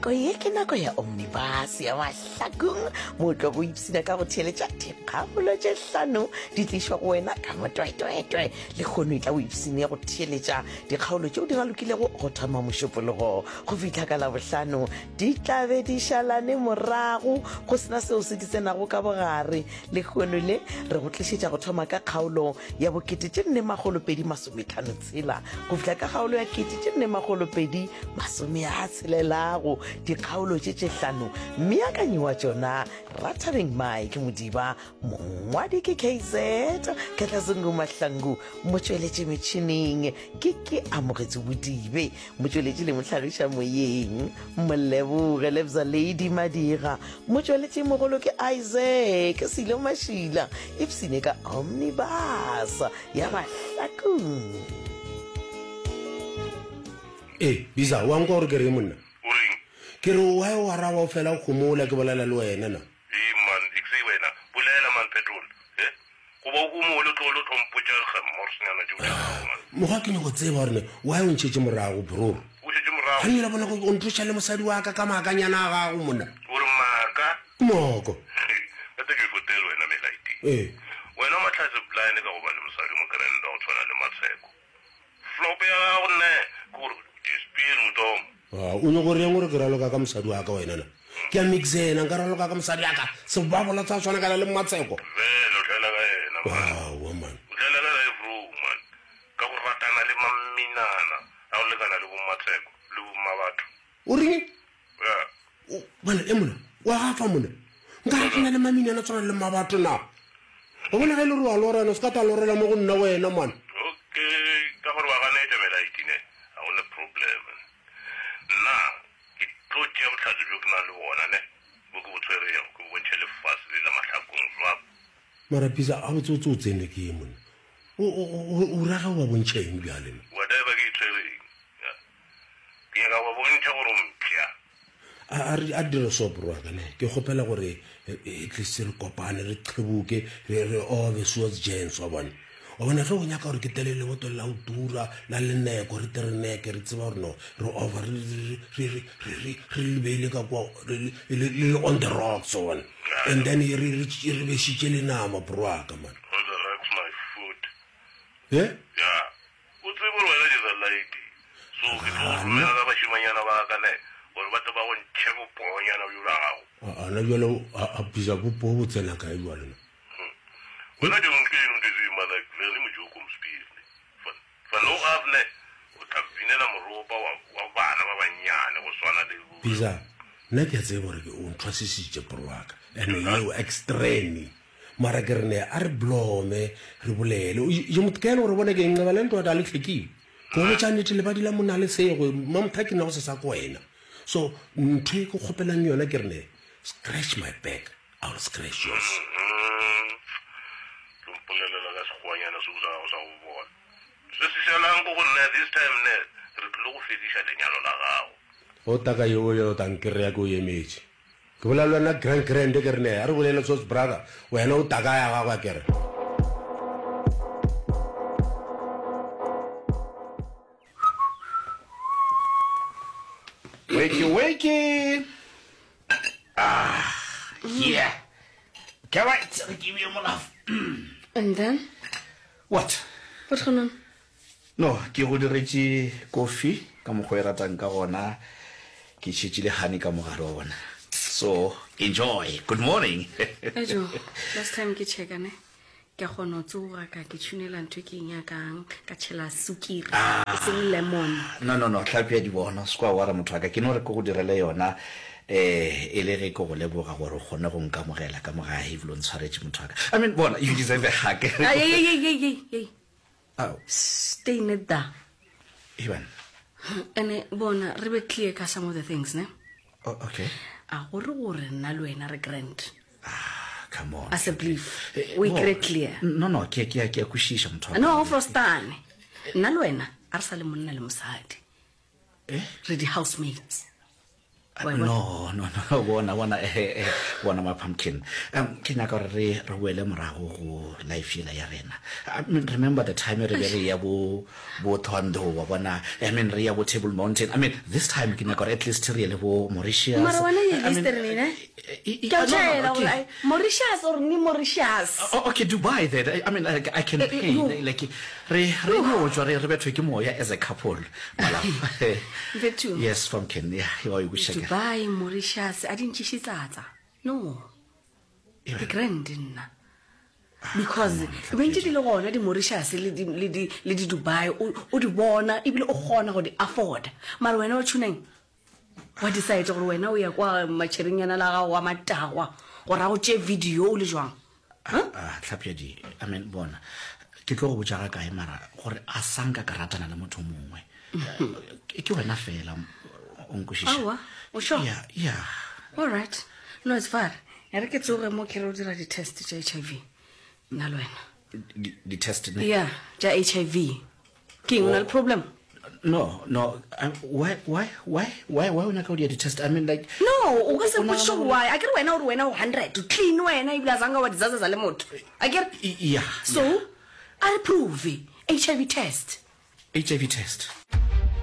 Nako ye ke nako ya Omnibus ya Mahlakong, mo o tlogo ipshina ka go theeletša dikgaolo tše hlano di tlišwa go wena ka motwetwetwe. Lehono e tla o ipshine go theeletša dikgaolo tšeo di ralokilego go thoma Mošupologo go fihla ka Labohlano. Di tla be di šalane morago go sena seo se di tsenago ka bogare. Lehono le re go tlišetša go thoma ka kgaolo ya bokete tše nne makgolo pedi masometlhano tshela go fihla ka kgaolo ya kete tše nne makgolo pedi masome a tshelelago. Dikgaolo tše tše hlano mmeakanyi wa tšona Rathabeng Mike Modiba, mongwadi ke KZ Katlazungu Mahlangu, motšweletši metšhineng ke ke Amogetso Bodibe, motšweletši le mohlagiša moyeng Moleboge Lebza Lady Madira, motšweletši mogolo ke Isaac Silo Mašila, ipsine ka Omnibus ya Mahlakong. Ee, Bisa, wa nkwa gore ke reng monna? O reng? Ke re why o araba o fela o homola ke bolela le wena na? Ee man, ekse wena, bolela man Petrol, he? Goba o homole o tlogele o tlo mpotša gemmorsnyana tšeo tša gago man. Mokgwa ke nyako tseba gore ne why o ntšhetše morago bro? O šetše morago? Gane la bona o ntloša le mosadi wa ka ka maakanyana a gago monna. O re maaka? Ke maaka. Gate ke fotele wena Melaidi. Ee. Wena o mahlatse blind ka go ba le mosadi o mokrenda go tshwana le Matsheko. Flop ya gago nne ke gore dispiri motomo. Ah, o nyoko reng gore ke raloka ka mosadi wa ka wena na? Ke a mixena, nka raloka ka mosadi wa ka. Sebabola tsa tshwana kana le Mmatsheko. Vele o dlala ka yena man. Aowa man. O dlala ka life room man. Ka go ratana le mamminana a go lekana le bo Mmatsheko le bo Mmabatho. O reng? Yeah. Bana e mona, wa gafa mona. Nka ratana le mamminana tshwana le Mmabatho na? Wa bona ge e le gore wa lora wena, o se ka tla lorela mo go nna wena man. Okay, ka gore wa ganetša melaedi ne, ga go ne problem. Nna ke tlo tšea bohlatse bjo ke nang le bona ne, bo ke bo tshwerego, ke bo bontšhe lefase le la mahlakong swap. Mara Bisa, gabotsebotse o tsenwe ke eng monna? O, o, o, o ra ge o ba bontšha eng bjale ne? Whatever ke e tshwereng, ya. Ke nyaka go ba bontšha gore o mpša. A, a re, a re dire so bro wa ka ne. Ke kgopela gore at least re kopane, re qheboke, re, re obe source gents wa bona. Wa bona ge o nyaka gore ke tlele lebotolo la go tura la leneko re tle re neke re tseba gore no re over re re re re re re re le beile ka kwa re le le le on the rocks wa bona. And then re re re bešitše le nama bro wa ka man. On the rocks my foot. Eh? Yeah. O tsebe gore wena ke sa laete. So ke tlo go romela ka bašemanyana ba ka ne gore ba tle ba go ntšhe bopoonyana bjo bja gago. A na bjale a bisa bopoo bo tsena kae bjale na? Wena ke motho eno ke zima like vele mojoko mspiri ne. Van van o af ne o tla binela moropa wa wa bana ba bannyane go swana le bo. Bisa, nna ke a tseba gore o nthwasisitše bro wa ka. Ene yeo extreme. Mara ke re ne a re blome re bolele. Je motho ke ene gore bone ke nqeba le ntwa da le tlhekile. Ke go botša nnete lebadi la monna le sego mamotha ke nna go se sa ko wena. So ntho e ke kgopelang yona ke re ne scratch my back I will scratch yours. Tlo mpolelela ka sekgowanyana seo sa gago sa go bola. Se se šalang ko go nna this time ne re tlile go fediša lenyalo la gago. O taka yeo yo ta nkreya ke o emetše. Ke bolela le wena grand grand ke re ne a re bolele sos brother wena o taka ya gago akere. Wakey wakey. Ah, yeah. Okay, right. Re ke beye molafo. And then? What? What's going on? No, ke go diretše kofi ka mokgwa o e ratang ka gona. Ke tšhetše le honey ka mogare wa bona. So, enjoy. Good morning. Ejo, last time ke checka ne. Ke a kgona go tsoga ka ke tšhunela ntho e ke e nyakang, ka tšhela sukiri, e seng lemon. No, no, no, hlapi ya dibono, se kwa wara motho wa ka. Ke no re ke go direle yona eh e le ge ke go leboga gore o kgone go nkamogela ka mo gae ebile o ntshwaretše motho wa ka. I mean, bona, you deserve a hug. Ay, ay, ay, ay, ay, ay. Ao. Stay net da. Ivan. Ene bona re be clear ka some of the things ne. Oh, okay. A gore gore nna le wena re grand. Ah, come on. As a belief. Eh, We no, kry clear. No, no, ke ke ke a kwešiša motho wa ka. No, frostane. Nna le wena a re sa le monna le mosadi. Eh? Re di housemates. Wa e bona? No, no, no, bona, bona, eh, eh, bona ma pumpkin. Um, ke nyaka gore re re boele morago go life yela ya rena. I mean, remember the time re be re ya bo bo Thohoyandou, wa bona. I mean, re ya bo Table Mountain. I mean, this time ke nyaka gore at least re ye le bo Mauritius. Mara wena ye I mean, liste re nene? eh, eh, Ke a no, no, tšhaela okay. gore ai, Mauritius or ni Mauritius. Oh, okay, Dubai then. I mean, like, I can Eh, eh, pay. no. Like, re re no tšwa re re bethwe ke moya as a couple. My love. Mfethu. Yes, pumpkin. Yeah, wa e kwešiša ke. Dubai, Mauritius, a di ntšiše tsatsa. No. Ke grand nna. Because bentše di le gona di Mauritius le di le di le di Dubai o o di bona ebile o kgona go di afford. Mara wena o tšhuneng? Wa decide gore wena o ya kwa matšherenyana la gago wa matagwa gore a go tšee video o le jwang? Huh? Ah, Tlhapjadi, I mean, bona, ke tlo go botša ga kae mara gore a sa nka ka ratana le motho mongwe. Eh, Ke wena fela, o nkwešiša. Aowa, o sure? Yeah, yeah. All right. No, it's far. E re ke tsoge mo ke re o dira di-test tša HIV. Nna le wena. Di-test ne? Yeah, tša HIV. Ke eng o na le problem? No, no. I, why, why, why, why, why o nyaka go dia di-test? I mean, like... No, o ka se o nagana mpotšiše gore- why. A ke re wena o re wena o 100, o clean wena ebile a zanga wa dizazaza le motho. A ke re? Yeah. So, a re prove HIV test. HIV test.